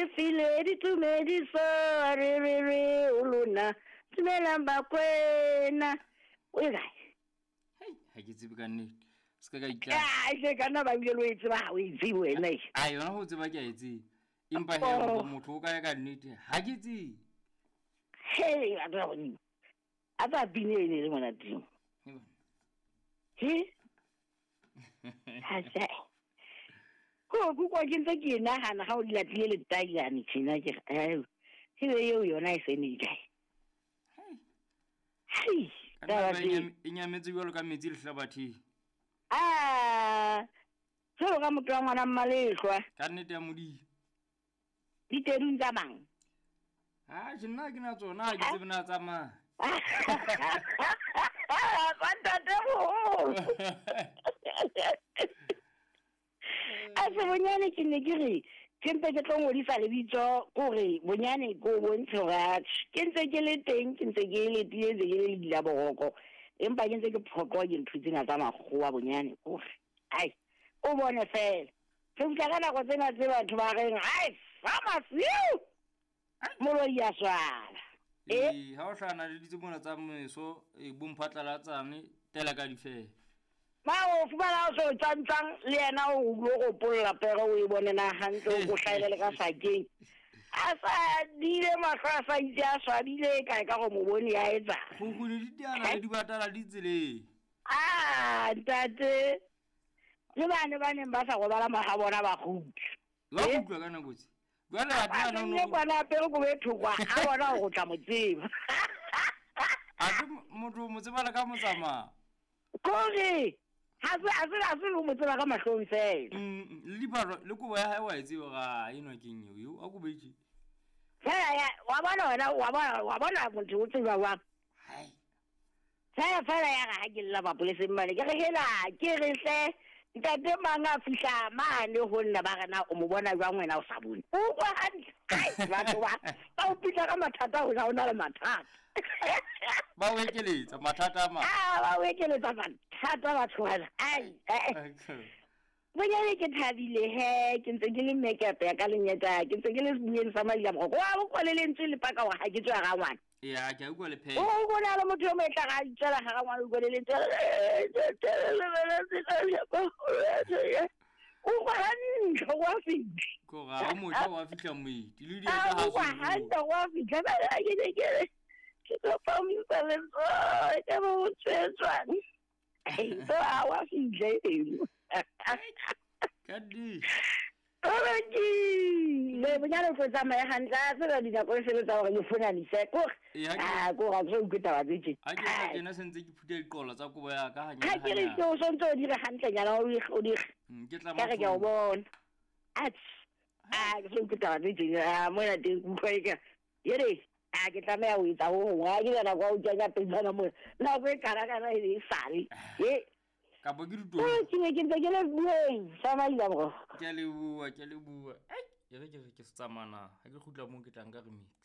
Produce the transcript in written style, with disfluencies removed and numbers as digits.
Le file ditumediso re re re o lona dumelang Bakwena. O e kae? Hei, ha ke tsebe ka nnete. Se ka ka itla. Ah, e ka nna ba bile lo e tseba ha o e tsebe wena. e. A yona ho tseba ke a e tseba. Empa he Oh. motho o kae ka nnete ha ke tsebe. Hei, batho ba godimo. A tsa pine e ne e le monateng. He bana. He? Ha se. Ko ko kwa ke ntse ke e nahana ha o di latlile letailane tjena ke re, eh, ebe eo yona e se ne e kae? Hei. Hei, Ka taba nnete tse. e nyametse jwalo ka metsi lehlabatheng. Ah, jwalo ka motho wa ngwana mmalehlwa Ka nnete ya Modimo. ditedung tsa mang? Ha je nna ke na tsona ha ke tsebe na tsamaya. Tsa ntate moholo. A se bonyane ke ne ke re ke mpe ke tlo ngodisa lebitso kore bonyane ko bontshe hore atjhe ke ntse ke le teng ke ntse ke letile ntse ke le ledila boroko empa ke ntse ke phoqwa ke ntho tsena tsa makgowa bonyane kore ai o bone fela re fihla ka nako tsena tse batho ba reng ai famasiu moloi ya swala e Ee, ha o hlahana le ditse mona tsa meso, e bomphatlalatsane, tela ka difela. Ma o fumana o so tswantswang le yena o lo gopolla pere o e bone na hantle o ko hlaele le ka sakeng. A sa dile mahlo a sa itse a swabile kae ka go mo bone ya etsa. Kgukguni di teana le dibatana di tseleng. Ah, ntate. Le bane ba neng ba sa robala maga bona ba kgutla. Ba Eh? utlwa ka nako tse. Jwale Ba athe ana tsenne o no- kwana apere kobo e thokwa a bona hore o tla mo tseba. athe motho o mo tseba le ka motsamao. Kore ha se le mo tseba ka mahlong fela. Le diphahlo le kobo ya hae wa e tseba ga enwa keng eo eo a kobo e tje. Fela ya wa bona wena wa bona motho o tseba jwang. Hai. Fela fela ya re ha ke lla mapoleseng mane ke re hela ke re hle ntate mang a fihla mane ho nna ba re na o mo bona jwang wena o sa bone. O utlwa hantle. Ai, batho ba ba o pitla ka mathata ho na o na le mathata. Ba o ekeletsa mathata a mang. Ah, ba o ekeletsa mathata batho bana. Ai, eh. Bonyane ke thabile he ke ntse ke le makeup ya ka lenyeta ke ntse ke le sebueng sa madila moroko wa bo kwale lentswe le paka hore ha ke tswe ga ngwana. Ee, ha ke a utlwa le pheha. O bona le motho yo mo e tla ga itswela ga ngwana o kwale lentswe. O kwa hantle wa fitlha. Ko ga o motjha wa fihla moeti le dieta A ha o kwa se hantle wa fitlha ba ke ne ke re ke kopa o mpha letsoho ke bo o tswetswang. So a wa fitlha eno. Ka nnete. Oroki! Le bonyane o tlo tsamaya hantle a tseba dinako e sebetsa hore ke fonanise kore Ee, ha ke- ah kore ha ke so utlwe taba tse tje. Ha ke tla tjena se ntse ke phutha diqolo tsa kobo ya ka hanyane Ha ke re hanyane. ke o sontse o dire hantlenyana o di- o dire Ke tla ka re ke a o matlong. bona. Atjhe. Ah ke so utlwe taba tse tje ah mona teng ke utlwa eka yere ah ke tlameha ho etsa ho hong ha ke na nako ya ho kenya pejana mona nako e kana kana e e sale. E Kapa ke ditolo. ke ne ke ntse ke le bueng sa madila morogo. Ke a leboha, ke a leboha. Ai, e re ke re ke se tsamaya na. Ha ke kgutla moo ke tla nka re metsi.